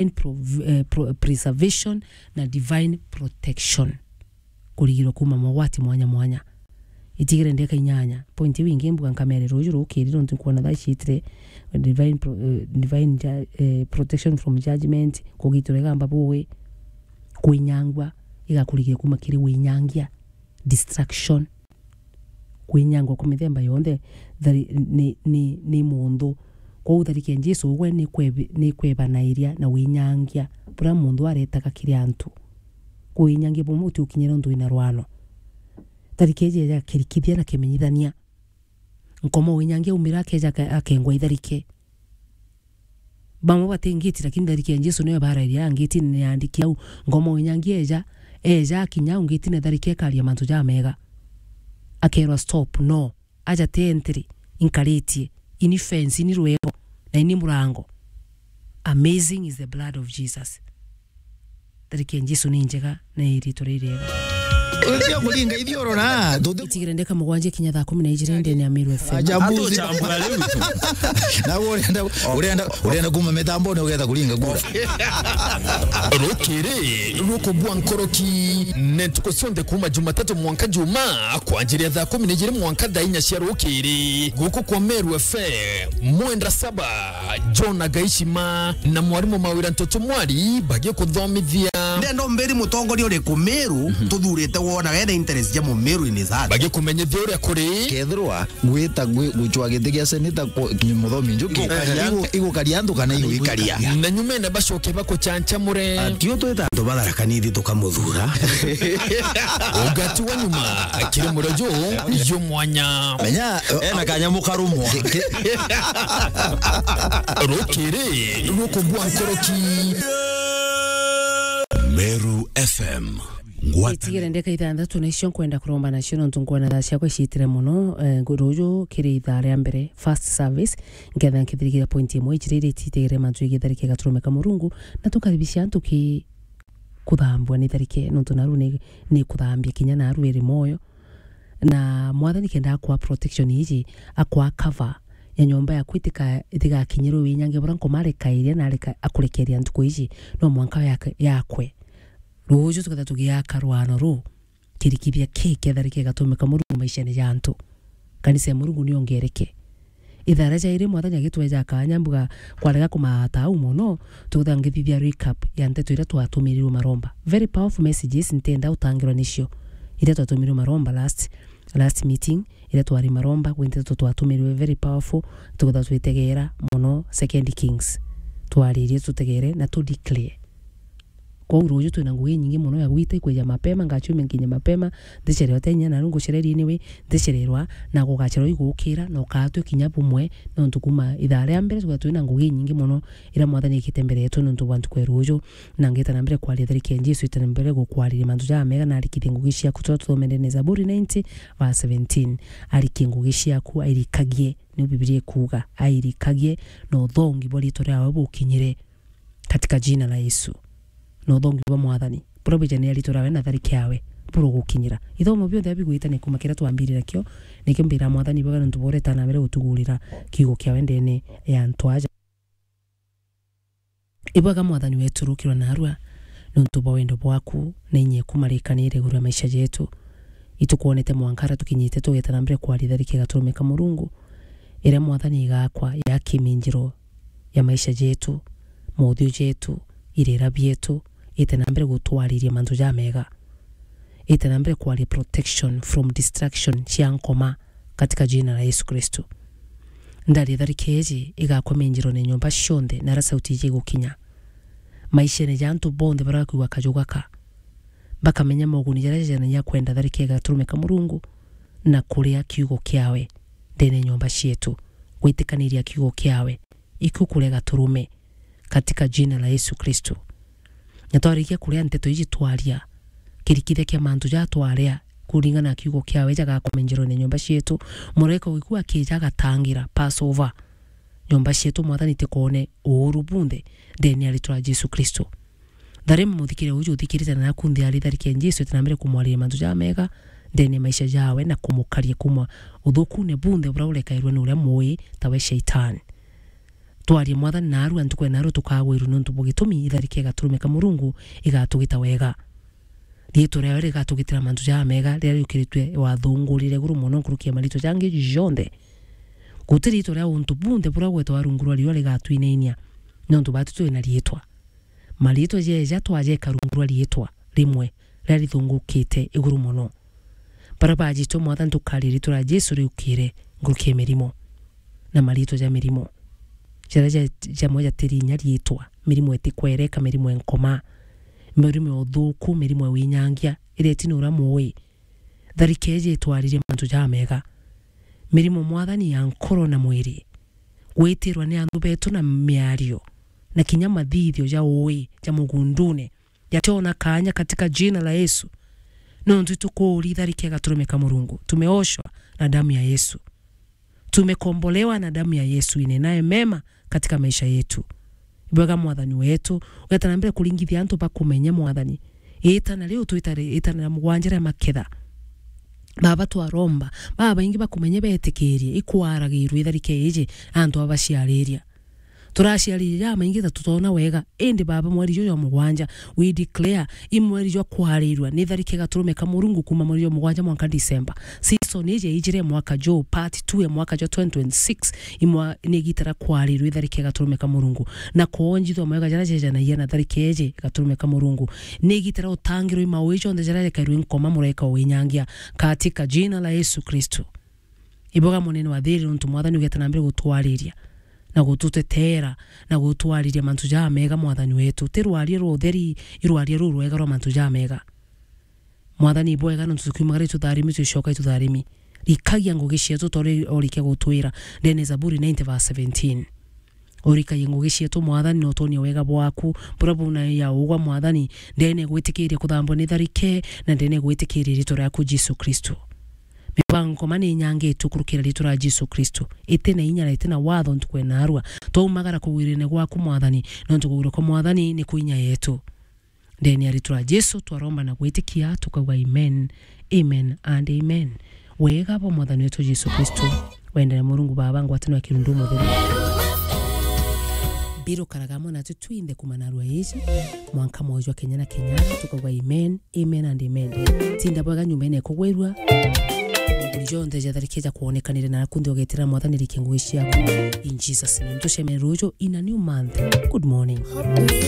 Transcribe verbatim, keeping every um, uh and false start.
divine prov-, eh, pro-, preservation na divine protection. Kurigirwa kuuma mogwati mwanya mwanya. Itigire ndeka inyanya. Point iu ingi mbuga nkamere ruju rukiri nontu nkwona thaa ciitire divine pro-, eh, divine ju-, eh, protection from judgment, kugitirwa igamba buwi, kwinyangua, igakurigire kuuma kiri winyangia, distraction. Kwinyangwa kwa mithemba yonthe thari-, ni, ni, ni munthu. Kwou tharike ya Jesu ugwe ni kwebi-, ni kwebanairia na winyangia buria munthu aretaga kiri antu. Kwinyangia bumwe uti ukinyira untu wina rwano. Tharike iji eja kirikithia na kimenyithania. Nkoma winyangia umira akeja ake-, akengwa itharike. Bamwe bati ngiti, lakini tharike ya Jesu niyo barairia ngitine ni andiki au. Ngoma winyangia eja, eja akinya au ngitine tharike ekaria mantu jamega. Akerwa stop, no. Aja ti entry, inkaritie. Ini fence, ini rwego, na ini murango. Amazing is the blood of Jesus. Tharike ya Jesu ni njega na iritwa ririega. Utia kuringa ithiurura, tuti- Itigire ndeka mugwanja kinya thaa kumi na ijiri ndene ya Meru F M. Ajabu. Atuchambura riu. Na urenda, urenda, urenda kuma mitambone ugetha kuringa kura. Rukiri rukubua nkoroki ne ntuku cionthe kuma Jumatatu mwanka Juma, kwanjiria thaa kumi na ijiri mwanka thaa inya cia rukiri. Guku kwa Meru F M, Mwendwa Saba, John Agaishima na mwarimu Mawira Ntoto Mwari bagikuthomithia. Ndenda umbiri mutongoria uriku Meru tuthurite wona wena interest ja Mumeru in his heart. Bagikumenyithia uria kuri. Kethirwa gwita gwi-, gucwa giti gia seneta ku-, ki-, Muthomi Njuki, igukaria antu kana iguikaria. Na nyumene bacoke bakuchanchamure. Atio twita antu ba Tharaka Nithi tukamuthura. Ugati wa nyuma kiri murojo yo mwanya. Menya, ena kanyamu karumwa. Rukiri rukubua nkoroki. Meru F M. Ngwata- Itigire ndeka ithanthatu na icio nkwenda kuromba nacio, nontu nkwona thaa ciakwa iciitire mono, eh, ngu-, ruju kiri ithaa ria mbere, first service, nketha nkithirikiria point imwe ijiri iria ititigire mantu jegii tharike ya Gaturumika Murungu, na tukaribisha antu ki kuthambua ni tharike, nontu naru ni, ni kuthambia kinya naru iri moyo. Na Mwathani kenda akwa protection iji, akwa cover ya nyomba yaku itika-, itigakinyirwe winyange buria Nkoma arekairia na areka-, akurekeria ntuku iji, no mwanka yake-, yakwe. Ruju tuketha tugiaka rwano ruu, kirikithia kii kia tharike igatumika Murungu maishene ja antu. Kanisa ya Murungu niongereke. Ithaa ria jairi Mwathani agitweja kanya mbuga kwarega kumata au mono, tukethira ngithithia recap ya nteto iria twatumirirwe maromba. Very powerful messages, ntenda utangirwa nicio. Iria twatumirirwe maromba last, last meeting, iria twari maromba, gwi nteto twatumirirwe very powerful, tukethira twitegera mono Second Kings. Twaririe tutegere na tu declare. Kwou ruju twina ngugi inyingi mono ya gwita, ikwija mapema, ngaciumia nkinye mapema, ndicerewa ti inya naru ngucereria anyway, ndicererwa, na gugacererwa igukira, na ukaatwi kinya bumwe, nontu kuma ithaa ria mbere tuga twina ngugi inyingi mono iria Mwathani ekite mbere yetu nontu bwa ntuku ya ruju, na ngita na mbere kwaria tharike ya Jesu, ita na mbere gukwariria mantu jamega, na arikithie ngugi ciaku, turia tuthomere ni Zaburi ninety verse seventeen, arikie ngugi ciaku, airikagie, niu Bibilia ikuuga, airikagie, na uthongi bwa riitwa riawe bukinyire. Katika jina la Yesu. Na uthongi bwa Mwathani buria bwijania riitwa riawe na tharike yawe burogukinyira. Ithomo bionthe abigwitania kuma kiria twambirire nakio, nikio mbira Mwathani bwega nontu bwa uria itana mbere gutugurira kiugo kiawe ndene ya antu aja. Ibwega Mwathani wetu rukirwa narua nontu bwa wendo bwaku na inya eku marikanire iguru ria maisha jetu. Itukwonete mwanka aria tukinyite tugeta na mbere kwaria tharike igaturumika Murungu, iria Mwathani igakwa ya kiminjiro ya maisha jetu, mothiu jetu, irira bietu, ite na mbere gutwariria mantu jamega. Ite na mbere kwaria protection from distraction cia Nkoma katika jina la Yesu Kristo. Ndaria tharike iji igakwa minjirone nyomba cionthe na aria sauti iji igukinya. Maishene ja antu bonthe baria bakwigua kaju gaka, bakamenya moguni jaria jajanania kwenda tharike igaturumika Murungu na kuria kiugo kiawe ndene nyomba cietu, gwitikaniria kiugo kiawe, ikio kuria gaturume, katika jina la Yesu Kristo. Na twarikia kuria nteto iji twaria, kirikithia kia mantu ja twaria, kuringana na kiugo kiawe jagakomenjerwa ni nyomba cietu, muraika ugikua akija agatangira Passover. Nyomba cietu Mwathani tikone uuru bunthe, ndene ya ritwa ria Jesu Kristo. Tharima muthikire uju uthikirite na naku nthi ari tharike ya Jesu, ite na mbere kumwariria mantu jamega, ndene ya maisha jawe na kumukaria kuma uthukune bunthe buria urekairwe ni uria mui tawe Shaitani. Twarie Mwathani naarua, ntuku ya naarua tukagwirua niuntu bwa gitumi itharike igaturumika Murungu igatugita wega. Riitwa riawe rigatugitira mantu jamega riria riukiritue wathungurire iguru mono nkuruki ya mariitwa jangi jonthe. Guti riitwa ria untu bunthe buria gwetwa rungu rwa riua rigatwinainia, niuntu batu twina riitwa. Mariitwa jeja twajeka rungu rwa riitwa rimwe riria rithungukite iguru mono. Baria bajitwe Mwathani tukaria riitwa ria Jesu riukire nkuruki ya mirimo na mariitwa ja mirimo. Jaria ja-, jamwe jatiri inya riitwa, mirimo itikwereka, mirimo ya nkoma, mirimo ya uthuku, mirimo ya winyangia, iria itina uria mui. Tharike iji itwaririe mantu jamega. Mirimo Mwathani ya nkoro na mwiri, gwitirwa ni anthu betu na miario, na kinya mathithio ja ui ja mugundune, yationa kaanya katika jina la Yesu. Nontu itukuuri tharike igaturumika Murungu. Tumeoshwa na damu ya Yesu. Tumekombolewa na damu ya Yesu, inenae mema katika maisha yetu. Ibwega Mwathani wetu, ugeta na mbere kuringithia antu bakumenye Mwathani. Itana riu twita ri-, itana ria mugwanja ria maketha. Baba, twaromba, babaingi bakumenye betikirie, ikwaragirwe itharike iji, antu abaciariria. Turaciariria jamaingi ta tutona wega, indi Baba, mweri juju jwa mugwanja, we declare, i mweri jwa kwarirua ni tharike igaturumika Murungu kuma mweri jwa mugwanja mwanka December. Season iji ijire mwaka juu, part two ya mwaka jwa twenty twenty-six, imwa-, ni igita ria kwarirua itharike igaturumika Murungu, na kwonjithua mawega jaria jejanagia na tharike iji igaturumika Murungu. Ni igita ria utangirwa i maui jonthe jaria jekairwe nkoma muraika winyangia, katika jina la Yesu Kristo. Iboga munene wa thiri, nontu Mwathani ugeta na mbere gutwariria na gututetera na gutwariria mantu jamega, Mwathani wetu. Ti rwaria rwa utheri, i rwaria ruu rwega rwa mantu jamega. Mwathani, ibwega nontu tukiumagara itutharimi, tucoka itutharimi. Rikagia ngugi cietu tori orikia gutwira ndene Zaburi ninety verse seventeen. Urikagie ngugi cietu, Mwathani, na utonie wega bwaku buria buna ya ugwa, Mwathani, ndene gwitikiria kuthambwa ni tharike, na ndene gwitikiria riitwa riaku, Jesu Kristo. Mibango nkoma ni inyangitue kurukira riitwa ria Jesu Kristo. Iti na inya na iti na watho ntuku ya naarua. Twaumagara kugwirene gwaku, Mwathani, nontu kugwirwa kwa Mwathani ni ku inya yetu. Ndene ya riitwa ria Jesu twaromba na gwitikia, tukauga amen, amen and amen. Wega bwa Mwathani wetu Jesu Kristo, wendere Murungu Baba, ngwataniro ya Kirundu Mutheru, birukaraga amwe natu twinthe kuma narua iji, mwanka mwoyo jwa kenya na kenya, tukauga amen, amen and amen. Tinda bwega nyumbene ikugwirua, nguri jonthe jatharike jakwonekanire naku nthi ugetira Mwathani rikie ngugi ciaku. In Jesus' name. Tucemene ruju in a new month. Good morning.